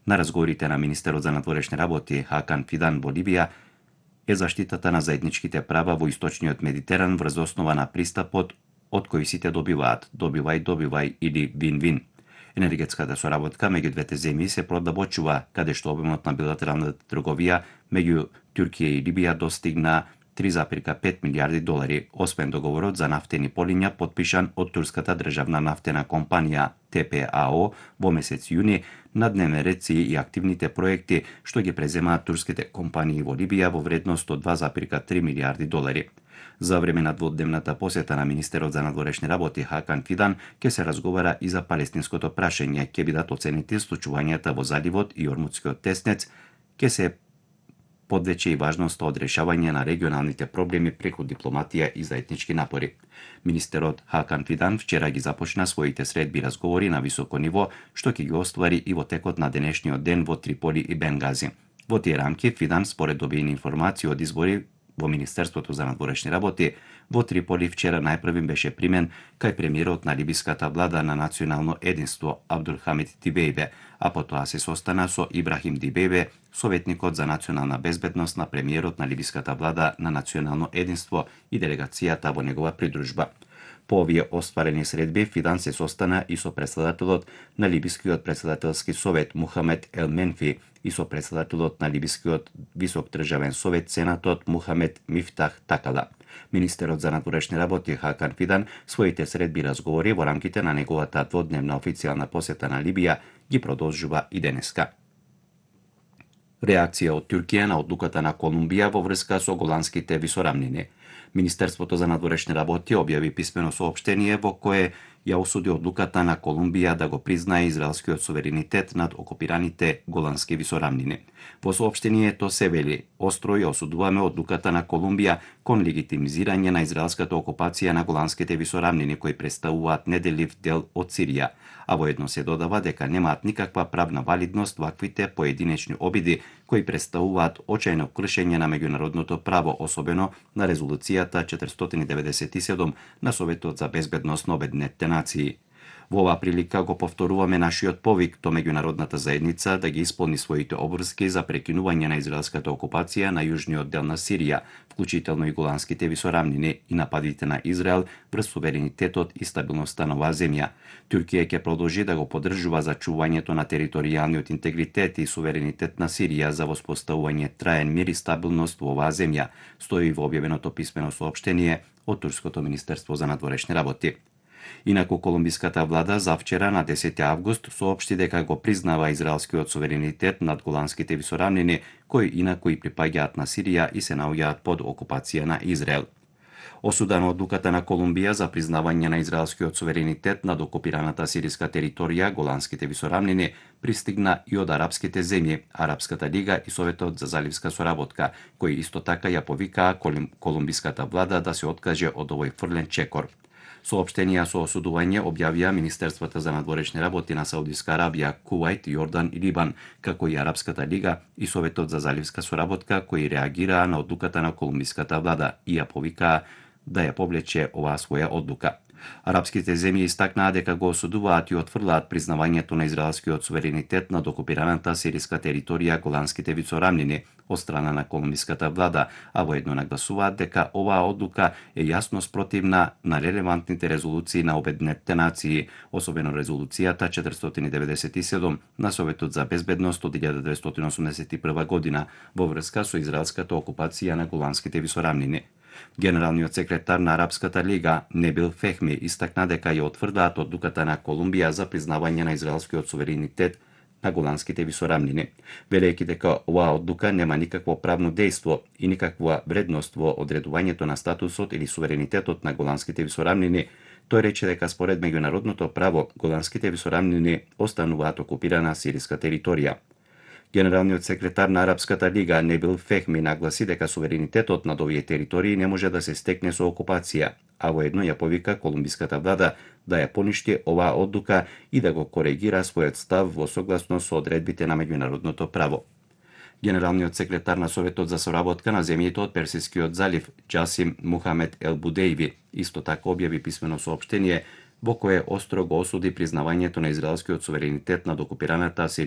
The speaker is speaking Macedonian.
На разговорите на министерот за надворешни работи Хакан Фидан во Либија е заштитата на заедничките права во источниот Медитеран врз основа на пристапот од кој сите добиваат, добивај или вин-вин. Енергетската соработка меѓу двете земји се продабочува, каде што обемот на билатералната трговија меѓу Туркија и Либија достигна 3,5 милиарди долари, освен договорот за нафтени полиња подпишан од турската државна нафтена компанија ТПАО во месец јуни. На дневен ред си и активните проекти што ги преземаат турските компании во Либија во вредност од 2,3 милиарди долари. За време на дводневната посета на министерот за надворешни работи Хакан Фидан ќе се разговара и за палестинското прашање, ќе бидат оценети случувањата во заливот и Ормудскиот теснец, ќе се подвече и важноста од решавање на регионалните проблеми преку дипломатија и заеднички напори. Министерот Хакан Фидан вчера ги започна своите средби разговори на високо ниво, што ќе ги оствари и во текот на денешниот ден во Триполи и Бенгази. Во тие рамки Фидан, според добиени информации од избори во Министерството за надворешни работи, во Триполи вчера најпрвим беше примен кај премиерот на либиската влада на национално единство Абдулхамид Дибејбе, а потоа се состана со Ибрахим Дибејбе, советникот за национална безбедност на премиерот на либиската влада на национално единство и делегацијата во негова придружба. По овие остварени средби, Фидан се состана и со председателот на Либискиот председателски совет Мухамед Ел Менфи и со председателот на Либискиот висок државен совет сенатот Мухамед Мифтах Такала. Министерот за надворешни работи Хакан Фидан своите средби разговори во рамките на неговата дводневна официјална посета на Либија ги продолжува и денеска. Реакција од Туркија на одлуката на Колумбија во врска со Голанските висорамнини. Министерството за надворешни работи објави писмено соопштение во кое ја осуди одлуката на Колумбија да го признае израелскиот суверенитет над окупираните Голански висорамнини. Во соопштението се вели: остро ја осудуваме одлуката на Колумбија кон легитимизирање на израелската окупација на Голанските висорамнини кои представуваат неделив дел од Сирија, а воедно се додава дека немаат никаква правна валидност ваквите поединечни обиди кои представуваат очајно кршење на меѓународното право, особено на резолуцијата 497 на Советот за безбедност на Обединетите нации. Во оваа прилика го повторуваме нашиот повик до меѓународната заедница да ги исполни своите обврски за прекинување на израелската окупација на јужниот дел на Сирија, вклучително и Голанските висорамнини и нападите на Израел врз суверенитетот и стабилноста на оваа земја. Туркија ќе продолжи да го поддржува зачувањето на територијалниот интегритет и суверенитет на Сирија за воспоставување траен мир и стабилност во оваа земја, стои во објавеното писмено соопштение од Турското министерство за надворешни работи. Инаку колумбиската влада завчера на 10 август соопшти дека го признава израелскиот суверенитет над Голанските висорамнини, кои инаку и припаѓаат на Сирија и се наоѓаат под окупација на Израел. Осуда на одлуката на Колумбија за признавање на израелскиот суверенитет над окупираната сириска територија Голанските висорамнини пристигна и од арапските земји, Арапската лига и Советот за заливска соработка, кои исто така ја повикаа колумбиската влада да се откаже од овој фрлен чекор. Соопштенија со осудување објавија Министерствата за надворешни работи на Саудиска Арабија, Кувајт, Јордан и Либан, како и Арапската лига и Советот за заливска соработка, кои реагираа на одлуката на колумбиската влада и ја повикаа да ја повлече оваа своја одлука. Арапските земји истакнаа дека го осудуваат и отфрлаат признавањето на израелскиот суверенитет над окупираната сириска територија Голанските висорамнини од страна на колумбиската влада, а воедно нагласуваат дека оваа одлука е јасно спротивна на релевантните резолуции на Обединетите нации, особено резолуцијата 497 на Советот за безбедност од 1981 година во врска со израелската окупација на Голанските висорамнини. Генералниот секретар на Арапската лига Небил Фехми истакна дека ја отврдаат одлуката на Колумбија за признавање на израелскиот суверенитет на Голанските висорамнини, велејќи дека оваа одлука нема никакво правно дејство и никаква вредност во одредувањето на статусот или суверенитетот на Голанските висорамнини. Тој рече дека според меѓународното право Голанските висорамнини остануваат окупирана сириска територија. Генералниот секретар на Арапската лига Небил Фехми нагласи дека суверенитетот над овие територии не може да се стекне со окупација, а воедно ја повика колумбиската влада да ја поништи оваа одлука и да го коригира својот став во согласно со одредбите на меѓународното право. Генералниот секретар на Советот за соработка на земјите од Персискиот залив Џасим Мухамед Ел Будејви исто така објави писмено соопштение во кое остро го осуди признавањето на израелскиот суверенитет над окупираната